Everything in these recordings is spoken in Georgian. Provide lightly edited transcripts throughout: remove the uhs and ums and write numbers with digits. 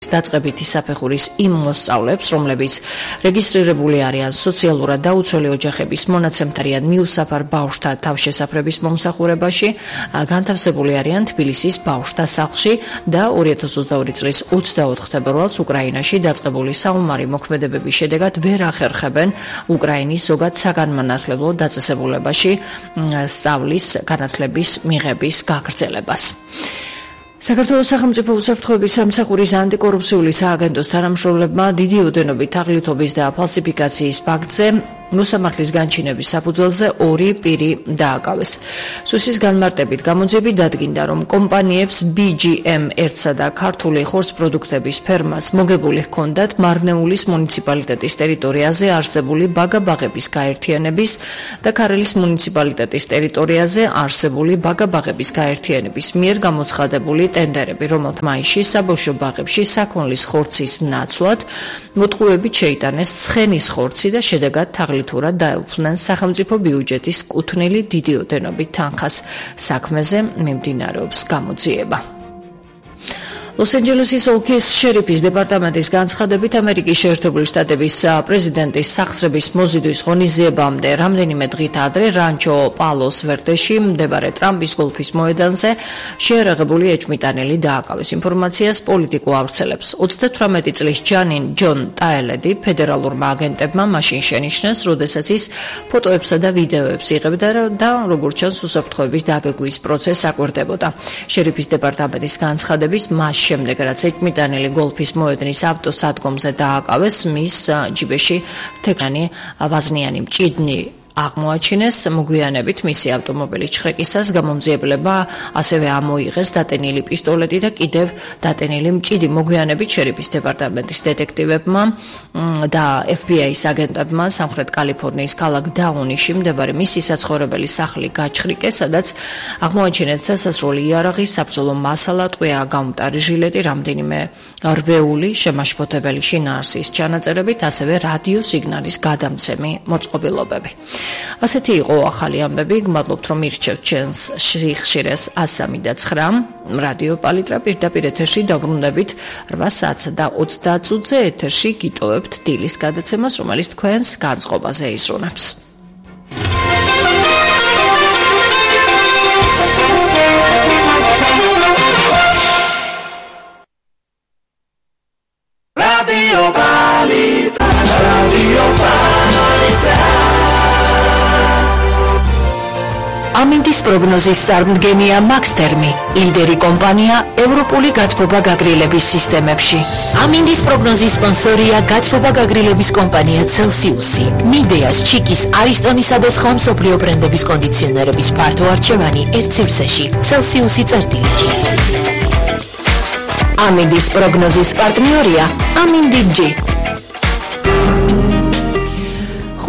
დაწყებითი საფეხურის იმ მოსწავლეებს, რომლებიც რეგისტრირებული არიან სოციალურად დაუცველი ოჯახების მონაცემთარიან მიუსაფარ ბავშვთა თავშესაფრების მომსახურებაში, განთავსებული არიან თბილისის ბავშვთა სახლში და 2022 წლის 24 თებერვალს უკრაინაში დაწყებული საომარი მოქმედებების შედეგად ვერ ახერხებენ უკრაინის ზოგად საგანმანათლებლო დაწესებულებაში სწავლის განათლების მიღების გაგრძელებას. საქართველოს სახელმწიფო უსაფრთხოების სამსახურის ანტიკორუფციული სააგენტოს თანამშრომლებმა დიდი ოდენობით თაღლითობის და ფალსიფიკაციის ფაქტზე მოსამართლის განჩინების საფუძველზე 2 პირი დააკავეს. სუსის განმარტებით გამოძიებით დადგინდა, რომ კომპანიებს BGM-1-სა და ქართული ხორცპროდუქტების ფერმას მოგებული ჰქონდათ მარნეულის მუნიციპალიტეტის ტერიტორიაზე არსებული ბაგა-ბაღების გაერთიანების და ქარელის მუნიციპალიტეტის ტერიტორიაზე არსებული ბაგა-ბაღების გაერთიანების მიერ გამოცხადებული ტენდერები, რომელთა მაისში საბავშვო ბაღებში საქონლის ხორცის ნაცვლად მოტყუებით შეიტანეს ცხენის ხორცი და შედეგად თაღლითურად დაეუფლნენ სახელმწიფო ბიუჯეტის კუთვნილი დიდი ოდენობით თანხას. საქმეზე მიმდინარეობს გამოძიება. ლოს-ანჯელესის ოლქის შერიფის დეპარტამენტის განცხადებით, ამერიკის შეერთებული შტატების პრეზიდენტის სახსრების მოზიდვის ღონისძიებამდე რამდენიმე დღით ადრე რანჩო პალოს ვერდეში მდებარე ტრამპის გოლფის მოედანზე შეიარაღებული ეჭვმიტანილი დააკავეს. ინფორმაციას პოლიტიკო ავრცელებს 38 წლის ჯონ ტაელედი ფედერალურმა აგენტებმა მაშინ შენიშნეს, როდესაც ის ფოტოებსა და ვიდეოებს იღებდა და როგორც ჩანს უსაფრთხოების დაგეგმვის პროცესს აკვირდებოდა. შერიფის დეპარტამენტის განცხადების შემდეგ რაც ეჭვმიტანილი გოლფის მოედნის ავტოსადგომზე დააკავეს, მის ჯიბეში თექანი ვაზნიანი მჭიდნი აღმოაჩინეს. მოგვიანებით მისი ავტომობილის ჩხრეკისას გამომძიებლებმა ასევე ამოიღეს დატენილი პისტოლეტი და კიდევ დატენილი მჭიდი. მოგვიანებით შერიფის დეპარტამენტის დეტექტივებმა და FBI-ის აგენტებმა სამხრეთ კალიფორნიის ქალაქ დაუნიში მდებარე მისი საცხოვრებელი სახლი გაჩხრიკეს, სადაც აღმოაჩინეს სასასროლი იარაღი, საბრძოლო მასალა, ტყვია გამტარი ჟილეტი, რამდენიმე რვეული შემაშფოთებელი შინაარსის ჩანაწერებით, ასევე რადიო სიგნალის გადამცემი მოწყობილობები. ასეთი იყო ახალი ამბები. გმადლობთ, რომ ირჩევთ ჩვენს სიხშირეს 103.9 რადიო პალიტრა. პირდაპირ ეთერში დაბრუნდებით 8 საათსა და 30 წუთზე. ეთერში გიტოვებთ დილის გადაცემას, რომელიც თქვენს განწყობაზე იზრუნებს. რადიო პალიტრა, რადიო პალიტრა. ამინდის პროგნოზის წარმდგენია მაქსთერმი, ლიდერი კომპანია ევროპული გათბობა გაგრილების სისტემებში. ამინდის პროგნოზის სპონსორია გათბობა გაგრილების კომპანია Celsius-ი. მიდეას, ჩიკის, არისტონისა და სხვა მსოფლიო ბრენდების კონდიციონერების ფართო არჩევანი ერთ სივრცეში. Celsius-ი წერტილით. ამინდის პროგნოზის პარტნიორია ამინდი-G.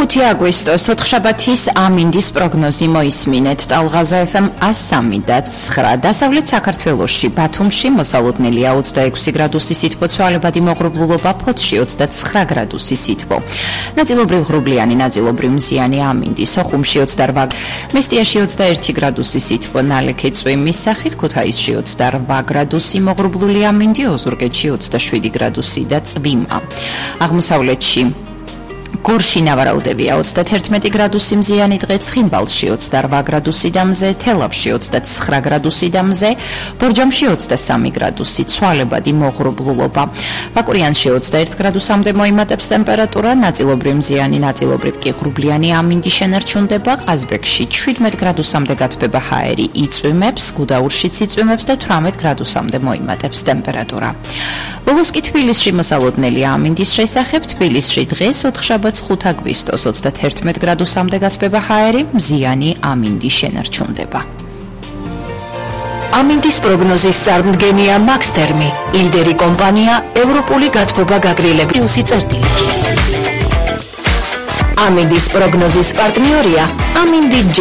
5 აგვისტოს ოთხშაბათის ამინდის პროგნოზი მოისმინეთ. ტალღაზა FM 103.9. დასავლეთ საქართველოში, ბათუმში მოსალოდნელია 26 გრადუსი სითბო, ცვალებადი მოღრუბლულობა, ფოთში 29 გრადუსი სითბო. ნაწილობრივ ღრუბლიანი, ნაწილობრივ მზიანი ამინდი, სოხუმში 28, მესტიაში 21 გრადუსი სითბო, ნალექი წვიმის სახით, ქუთაისში 28 გრადუსი მოღრუბლული ამინდი, ოზურგეთში 27 გრადუსი და წვიმა. აღმოსავლეთში გორში ნავარაუდებია 31 გრადუსი მზიანი დღე, ცხინვალში 28 გრადუსი და მზე, თელავში 29 გრადუსი და მზე, ბორჯომში 23 გრადუსი, ცვალებადი მოღრუბლულობა. ბაკურიანში 21 გრადუსამდე მოიმატებს ტემპერატურა, ნაწილობრივ მზიანი, ნაწილობრივ კი ღრუბლიანი ამინდი შენარჩუნდება. ყაზბეგში 17 გრადუსამდე გათბება ჰაერი, იწვიმებს, გუდაურშიც იწვიმებს და 18 გრადუსამდე მოიმატებს ტემპერატურა. ბოლოს კი თბილისში მოსალოდნელია ამინდის შესახებ. თბილისში დღეს ოთხშაბათს 5 აგვისტოს 31 გრადუსამდე გათბება ჰაერი, მზიანი ამინდი შენარჩუნდება. ამინდის პროგნოზის წარმდგენია მაქსთერმი, ლიდერი კომპანია ევროპული გათბობა გაგრილების წერტილით. ამინდის პროგნოზის პარტნიორია ამინდი-G.